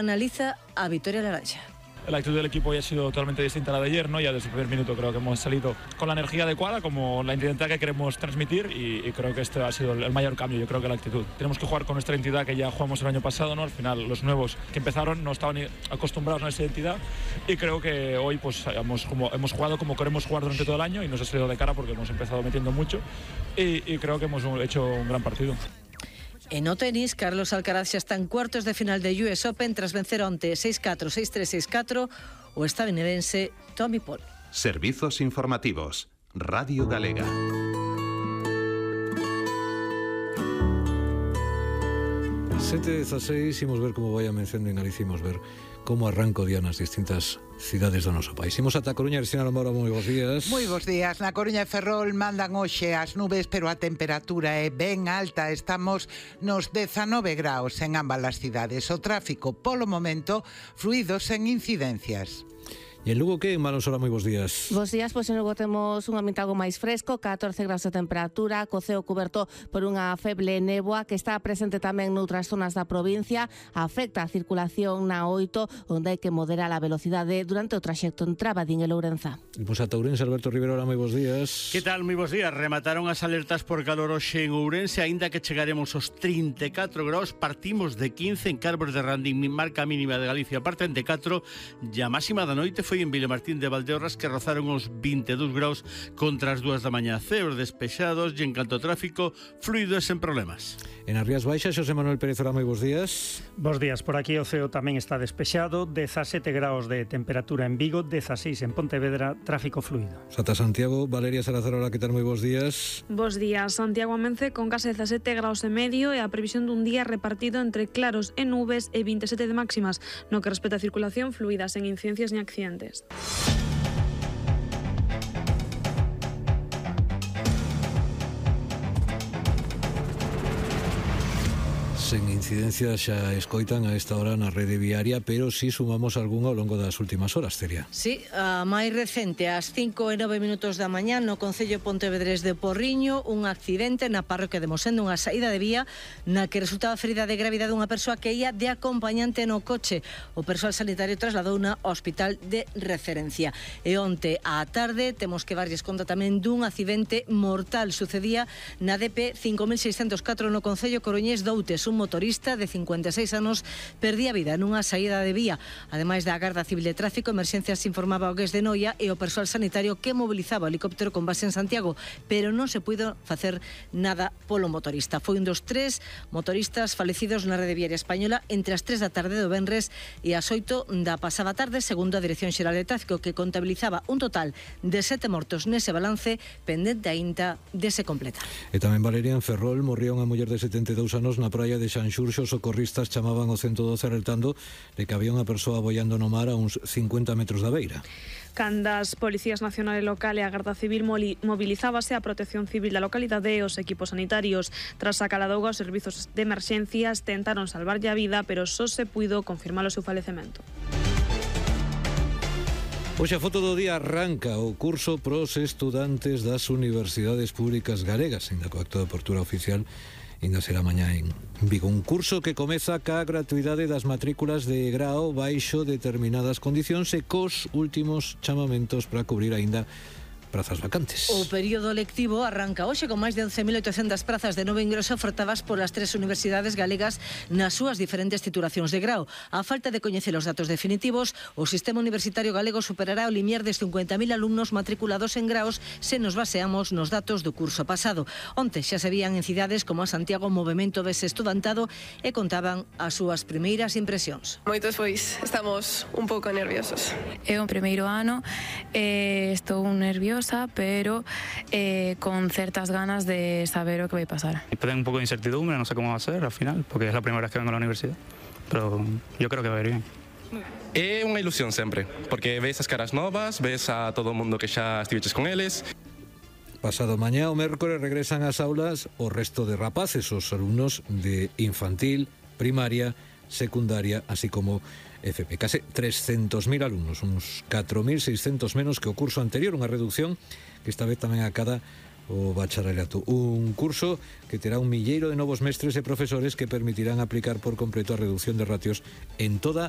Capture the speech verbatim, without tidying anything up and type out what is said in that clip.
analiza a Vitoria Laranxa. La actitud del equipo ya ha sido totalmente distinta a la de ayer, ¿no? Ya desde el primer minuto creo que hemos salido con la energía adecuada, como la identidad que queremos transmitir, y, y creo que este ha sido el mayor cambio, yo creo que la actitud. Tenemos que jugar con nuestra identidad que ya jugamos el año pasado, ¿no? Al final los nuevos que empezaron no estaban acostumbrados a esa identidad, y creo que hoy pues hemos, como, hemos jugado como queremos jugar durante todo el año y nos ha salido de cara porque hemos empezado metiendo mucho y, y creo que hemos hecho un gran partido. En o tenis, Carlos Alcaraz xa está en cuartos de final de U S Open tras vencer onte seis catro, seis tres, seis catro o estadounidense Tommy Paul. Servizos informativos. Radio Galega. sete dezasseis, imos ver como vai a mención de Galicia, imos ver como arranca o día nas distintas cidades do noso país. Imos ata Coruña, Cristina Lombora, moi bons días. Moi bons días. Na Coruña e Ferrol mandan hoxe as nubes, pero a temperatura é ben alta. Estamos nos dezanove graus en ambas as cidades. O tráfico, polo momento, fluido sen incidencias. E en Lugo que, Manos, hola, moi bons días. Bos días, pois en Lugo temos un ambiente algo máis fresco, catorce graus de temperatura, co ceo cuberto por unha feble néboa que está presente tamén noutras zonas da provincia, afecta a circulación na oito, onde hai que moderar a velocidade durante o traxecto en Trabadín e Lourenza. E pois ata Ourense, Alberto Rivero, hola, moi bons días. Que tal, moi bons días? Remataron as alertas por calor hoxe en Ourense, aínda que chegaremos aos trinta e catro graus, partimos de quince en Carbos de Randín, marca mínima de Galicia, parte de catro, e a máxima da noite foi en Vilamartín de Valdeorras, que rozaron os vinte e dous graus contra as dúas da mañá. Ceos despexados e en canto ao tráfico, fluido e sen problemas. En as Rías Baixas, Xosé Manuel Pérez, hola, moi bons días. Bos días, por aquí o ceo tamén está despexado, dezasete graus de temperatura en Vigo, dezaseis en Pontevedra, tráfico fluido. Ata Santiago, Valeria Salazar, hola, que tal, moi bons días. Bos días, Santiago amence con case dezasete graus e medio e a previsión dun día repartido entre claros e nubes e vinte e sete de máximas, no que respecta a circulación fluida, sen incidencias ni accidentes. Sen incidencias xa escoitan a esta hora na rede viaria, pero si sumamos algunha ao longo das últimas horas, Celia. Sí, a máis recente, ás cinco e nove minutos da mañá, no concello Pontevedrés de Porriño, un accidente na parroquia de Mosendo, unha saída de vía na que resultaba ferida de gravidade unha persoa que ia de acompañante no coche. O persoal sanitario trasladou na hospital de referencia. E onte á tarde temos que darlles conta tamén dun accidente mortal. Sucedía na D P cinco mil seiscentos catro no concello coruñés de Outes. Un motorista de cincuenta e seis anos perdía a vida nunha saída de vía. Ademais da Garda Civil de Tráfico, Emerxencias informaba o Gués de Noia e o persoal sanitario que mobilizaba o helicóptero con base en Santiago, pero non se puido facer nada polo motorista. Foi un dos tres motoristas falecidos na rede viaria española entre as tres da tarde do venres e as oito da pasada tarde, segundo a Dirección Xeral de Tráfico, que contabilizaba un total de sete mortos nese balance, pendente aínda de se completar. E tamén, Valeria, en Ferrol morría unha muller de setenta e dous anos na praia de Xanxurxo. Os socorristas chamaban o ciento doce alertando de que había unha persoa boiando no mar a uns cincuenta metros da beira. Cando as Policías Nacional e Local e a Garda Civil movilizábase a Protección Civil da localidade e os equipos sanitarios. Tras a caladouga, os servizos de emerxencias tentaron salvarlle a vida, pero só se puido confirmar o seu falecemento. Hoxe a foto do día arranca o curso pros estudantes das universidades públicas galegas, en co acto de apertura oficial ainda será mañá en Vigo. Un curso que comeza ca gratuidade das matrículas de grao baixo determinadas condicións e cos últimos chamamentos para cubrir aínda prazas vacantes. O período lectivo arranca hoxe con máis de once mil oitocentas prazas de novo ingreso ofertadas polas tres universidades galegas nas súas diferentes titulacións de grao. A falta de coñecer os datos definitivos, o sistema universitario galego superará o limiar de cincuenta mil alumnos matriculados en graos se nos baseamos nos datos do curso pasado. Onte xa se vían en cidades como a Santiago movemento dese estudantado e contaban as súas primeiras impresións. Moitos pois estamos un pouco nerviosos. É o primeiro ano, eh, estou nerviosa, pero eh, con certas ganas de saber o que vai pasar. Tengo un poco de incertidumbre, no sé cómo va a ser al final, porque es la primera vez que vengo a la universidad, pero yo creo que va a ir bien. É unha ilusión sempre, porque ves as caras novas, ves a todo o mundo que xa estiveches con eles. Pasado mañá, o mércores, regresan ás aulas o resto de rapaces, os alumnos de infantil, primaria, secundaria, así como F P. Case trescentos mil alumnos, uns catro mil seiscentos menos que o curso anterior, unha reducción que esta vez tamén acada o bacharelato. Un curso que terá un milleiro de novos mestres e profesores que permitirán aplicar por completo a reducción de ratios en toda